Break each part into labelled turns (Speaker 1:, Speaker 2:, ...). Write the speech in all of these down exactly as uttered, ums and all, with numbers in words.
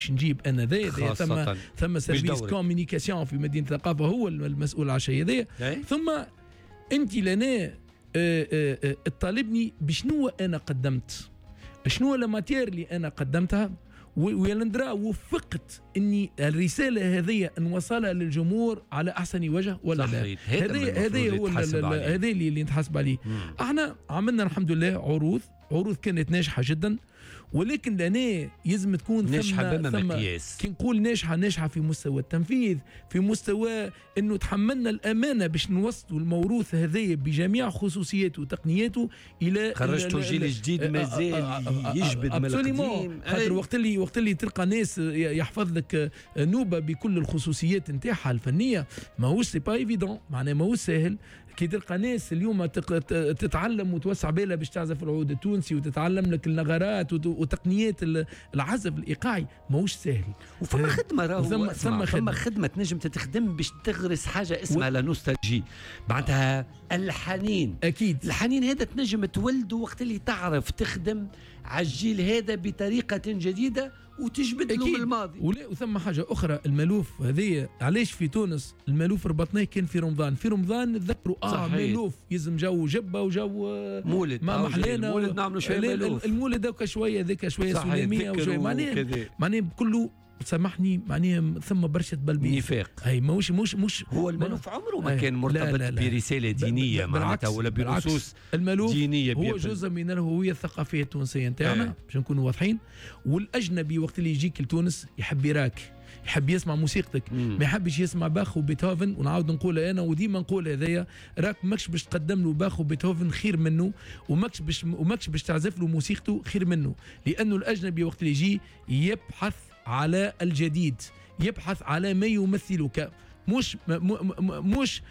Speaker 1: نجيب انا ذا ثم ثم service communication في مدينة الثقافة هو المسؤول على الشيء هذايا. ثم انت لنا تطالبني بشنو انا قدمت، شنو la matière اللي انا قدمتها، ويا ندرا وفقت اني الرسالة هذه نوصلها للجمهور على احسن وجه ولا لا. هذا هذا هو هذا اللي اللي نتحاسب عليه. احنا عملنا الحمد لله عروض عروض كانت ناجحة جدا، ولكن لنا يلزم تكون
Speaker 2: ناجحة بما مقياس.
Speaker 1: كي نقول ناجحة، ناجحة في مستوى التنفيذ، في مستوى انه تحملنا الامانة باش نوصلوا الموروث هذايا بجميع خصوصياته وتقنياته الى
Speaker 2: خرجتوا جيل جديد مازال يجبد من القديم.
Speaker 1: خاطر وقت اللي وقت اللي تلقى ناس يحفظ لك نوبه بكل الخصوصيات نتاعها الفنية، ماهوش c'est pas évident، معناها ماهوش ساهل. كي تلقى ناس اليوم تتعلم وتوسع بالها باش تعزف العود التونسي وتتعلم لك النغرات وتقنيات العزف الايقاعي، ماهوش ساهل.
Speaker 2: وفما خدمة راهو ثم ثم خدمة. خدمة تنجم تتخدم باش تغرس حاجة اسمها و... la nostalgie، معناتها الحنين.
Speaker 1: اكيد
Speaker 2: الحنين هذا تنجم تولده وقت اللي تعرف تخدم على الجيل هذا بطريقة جديدة وتجبد له الماضي.
Speaker 1: ولا وثم حاجة اخرى، المالوف هذه علاش في تونس المالوف ربطناه كان في رمضان، في رمضان نتذكروا اه مالوف يلزم جو جبه وجو
Speaker 2: مولد،
Speaker 1: ما محلانا
Speaker 2: المولد نعملوا شوية مالوف،
Speaker 1: المولد هذاك شوية ذاك شوية سلمية وشوية معناها معناها كله سامحني معناها ثم برشة بلبيس
Speaker 2: نفاق.
Speaker 1: اي ماهوش مش مش
Speaker 2: هو المالوف عمره ما كان مرتبط لا لا لا برسالة دينية معناتها ولا بنصوص
Speaker 1: المالوف
Speaker 2: دينية.
Speaker 1: هو جزء من الهوية الثقافية التونسية نتاعنا باش نكونوا واضحين. والاجنبي وقت اللي يجيك لتونس يحب يراك، يحب يسمع موسيقتك، ما يحبش يسمع باخ وبيتهوفن. ونعاود نقول انا وديما نقول هذايا، راك ماكش باش تقدم له باخ وبيتهوفن خير منه، وماكش باش وماكش باش تعزف له موسيقته خير منه، لانه الاجنبي وقت اللي يجي يبحث على الجديد، يبحث على ما يمثلك، مش مش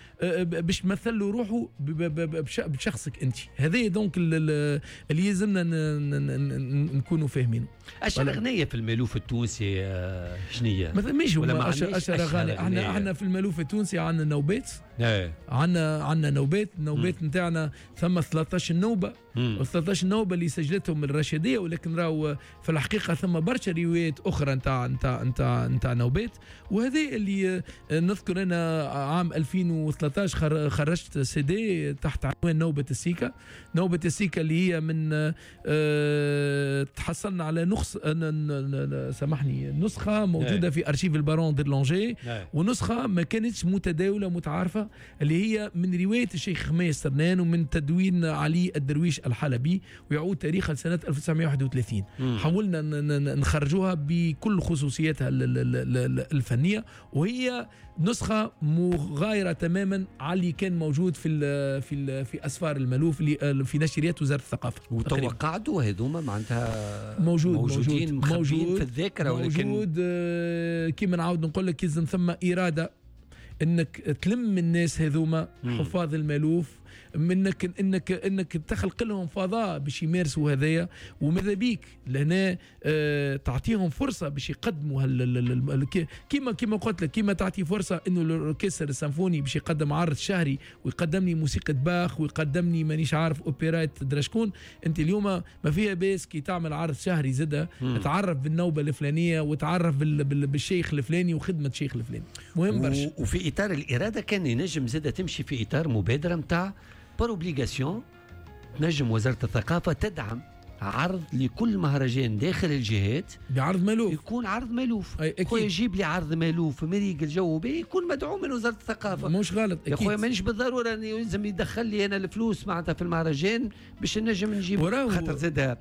Speaker 1: باش تمثل له روحه بشخصك انت. هذا donc اللي يلزمنا نكونوا فاهمينه.
Speaker 2: اشهر اغنية في المالوف التونسي شنية؟
Speaker 1: ما ثماش اشهر اغاني. احنا احنا في المالوف التونسي عندنا نوبات، عندنا عندنا نوبات، النوبات نتاعنا ثم ثلاثة عشر نوبه، ثلاثة عشر نوبه اللي سجلتهم الرشيديه، ولكن راهو في الحقيقة ثم برشا روايات اخرى نتاع نتاع نتاع نتاع نوبات. وهذا اللي نذكر انا عام ألفين وثلاثة عشر خرجت سي دي تحت عنوان نوبه السيكا. نوبه السيكا اللي هي من أه تحصلنا على نخص سامحني نسخه موجودة في ارشيف البارون ديرلانجي، ونسخة ما كانتش متداوله متعارفه، اللي هي من رواية الشيخ خميس سرنان ومن تدوين علي الدرويش الحلبي، ويعود تاريخها لسنه ألف وتسعمائة وواحد وثلاثين. حاولنا نخرجوها بكل خصوصياتها الفنية، وهي نسخه مغايرة تماما على اللي كان موجود في ال في ال في اسفار المالوف اللي في نشريات وزارة الثقافة.
Speaker 2: وتوقعتوا هذوما معناتها
Speaker 1: موجود
Speaker 2: موجودين موجود في الذاكرة، ولكن
Speaker 1: موجود كيما نعاود نقول لك لازم ثم اراده انك تلم الناس هذوما حفاظ المالوف، منك انك انك تخلق لهم فضاء باش يمارسوا هذايا، وماذا بيك لهنا اه تعطيهم فرصة باش يقدموا كيما كيما قلت لك، كيما تعطي فرصة انه الاوركستر السيمفوني باش يقدم عرض شهري ويقدم لي موسيقى باخ ويقدم لي مانيش عارف اوبرات دراشكون. انت اليوم ما فيها باس كي تعمل عرض شهري زاده تعرف بالنوبه الفلانية وتعرف بالشيخ الفلاني وخدمه الشيخ الفلاني، مهم برشا.
Speaker 2: وفي اطار الارادة كان ينجم زاده تمشي في اطار مبادرة نتاع par obligation، تنجم وزارة الثقافة تدعم عرض لكل مهرجان داخل الجهات
Speaker 1: بعرض مالوف،
Speaker 2: يكون عرض مالوف. خويا يجيب لي عرض مالوف مريق الجو به يكون مدعوم من وزارة الثقافة،
Speaker 1: مش غلط
Speaker 2: يا خويا. مانيش بالضرورة أن يلزم يدخل لي أنا الفلوس معناتها في المهرجان باش نجم نجيب، خاطر زادها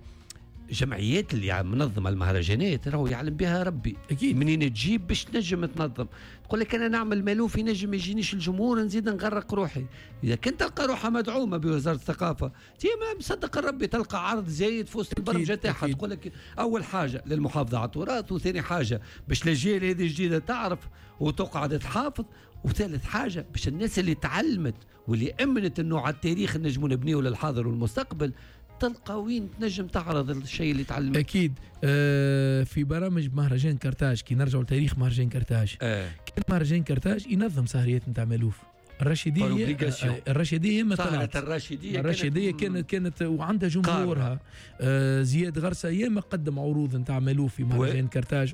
Speaker 2: جمعيات اللي منظمة المهرجانات راهو يعلم بها ربي
Speaker 1: أكيد
Speaker 2: منين تجيب باش تنجم تنظم. تقول لك انا نعمل مالوف ينجم يجينيش الجمهور نزيد نغرق روحي. اذا كنت تلقى روحها مدعومة بوزارة الثقافة تي ما مصدق ربي تلقى عرض زايد في وسط البرمجة تاعها. تقول لك اول حاجة للمحافظة على التراث، وثاني حاجة باش الاجيال هذه الجديدة تعرف وتقعد تحافظ، وثالث حاجة باش الناس اللي تعلمت واللي امنت انه على التاريخ نجموا نبنيه للحاضر والمستقبل تلقى وين تنجم تعرض الشيء اللي تعلمه.
Speaker 1: اكيد. آه في برامج مهرجان كرتاج كي نرجعوا لتاريخ مهرجان كرتاج، آه. كان مهرجان كرتاج ينظم سهريات نتاع مالوف. الرشيديه الرشيديه ما طلعت.
Speaker 2: الرشيديه
Speaker 1: الرشيديه كانت كانت وعندها جمهورها. آه زياد غرسه ياما قدم عروض نتاع مالوف في مهرجان كرتاج.